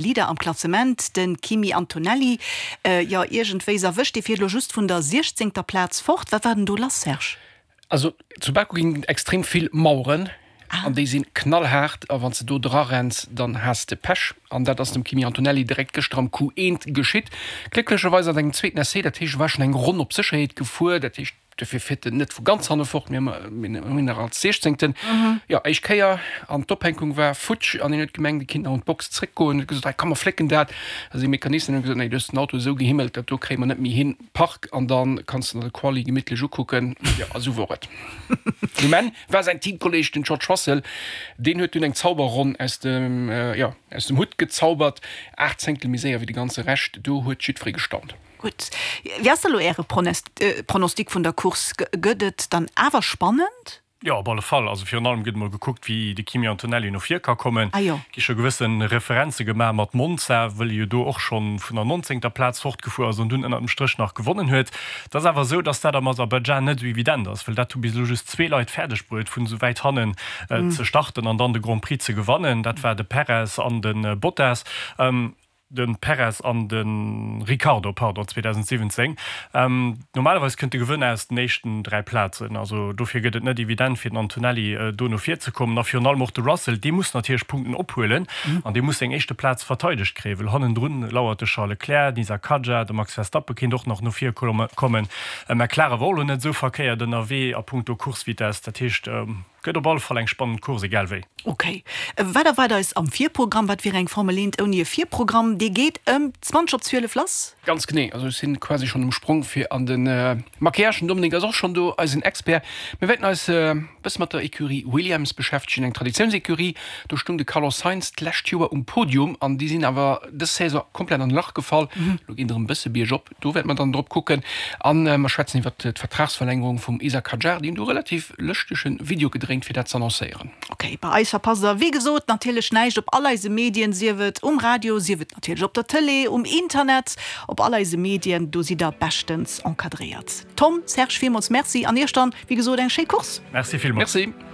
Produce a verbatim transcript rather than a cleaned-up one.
Leader am Klassement, de Kimi Antonelli. Jo, iergendwéi s'erwëscht, dee fiert elo just vun der siechzéngter Plaz fort. Wat war denn do lass, Serge? Also zu Baku ginn et extrem vill Maueren an déi sinn knallhaart a wann s de do dra renns, dann has de Pech. An dat ass dem Kimi Antonelli direkt gëschter am Q eent geschitt. Glécklecherweis an engem zweeten Essai, dat heescht e war schonn eng Ronn op Sécherheet gefuer, dat heescht dofir fiert en net vu ganz hanne fort, mee ëmmerhin nach als Siechzéngten. Jo, éischt Kéier an d'Ophänkung war futsch an hien huet gemengt, e kinnt nach un d'Box zréckgoen, huet gesot, hei komm mer flécken dat. Da sinn d'Mecanicien hunn gesot, nee, du hues den Auto esou gehimmelt, dat do kréie mer net méi hin. Park an dann kanns de der de Quali gemittlech ukucken. Jo, a sou wor et. Um Enn war säin Teamkolleg, den George Russell, deen huet dunn eng Zauberronn aus dem, jo, aus dem Hutt gezaubert, aacht Zéngtel méi séier wéi de ganze Rescht. Do huet jiddweree gestaunt. Gutt. Wéi ass da lo Äre Pronostic vun der Course? Gëtt et dann awer spannend? Jo, op alle Fall. Also virun allem gëtt emol gekuckt, wéi de Kimi Antonelli no vir ka kommen. Gi scho gewësse Referenze gemaach mat Monza, wëll e jo do och scho vun der nonzéngter Plaz fortgefuer ass an dunn ënnert dem Stréch nach gewonnen huet. Et ass awer esou, datt dat am Aserbaidschan net esou evident ass, well dat hu bis elo just zwee Leit fäerdeg bruet, vun esou wäit hannen ze starten an dann de Grand Prix ze gewannen. Dat war de Perez an de Bottas. De Perez an de Ricciardo, pardon, zweedausendsiwwenzéng. Normalerweis kënnt de Gewënner aus den éischten dräi Plazen, also dofir gëtt et net evident fir den Antonelli do no vir ze kommen a virun allem och de Russell, dee muss natierlech Punkten ophuelen an dee muss seng éischte Plaz verteidegt kréien, well hannendrun lauert de Charles Leclerc, den Isack Hadjar, de Max Verstappen kéint och nach no vir kommen. McLaren war och elo net esou verkéiert ënnerwee a punkto Course-Vitesse, dat heescht, Gëtt op alle Fall eng spannend Course, egal wéi. Ok. Wat erwaart eis am Virprogramm? Wat wier eng Formel eent ouni e Virprogramm? Dee geet ëm zwanzeg op zwielef lass. Ganz genee. Also ech sinn quasi schonn um Sprong fir an de Maquillage. Den Dominique ass och schonn do, eisen Expert. Mir wäerten eis e bësse mat der Ecurie Williams beschäftegen, eng Traditiounsecurie. Do stung de Carlos Sainz d'lescht Joer um Podium an déi sinn awer dës Saison komplett an e Lach gefall. Elo geet et erëm e bësse biergop. Do wäerte mer dann drop kucken. An mer schwätzen iwwert d'Vertragsverlängerung vum Isack Hadjar. Déi hunn do relativ lëschtege Video gedréint, fir dat z'annoncéieren. Ok, bei eis verpasst der wéi gesot natierlech näischt op all eise Medien, sief et um Radio, sief et natierlech op der Tëlee, um Internet, op all eise Medien, do sidd der beschtens encadréiert. Tom, Serge, villmools Merci an iech dann, wéi gesot, eng schéi Course. Merci villmools. Merci.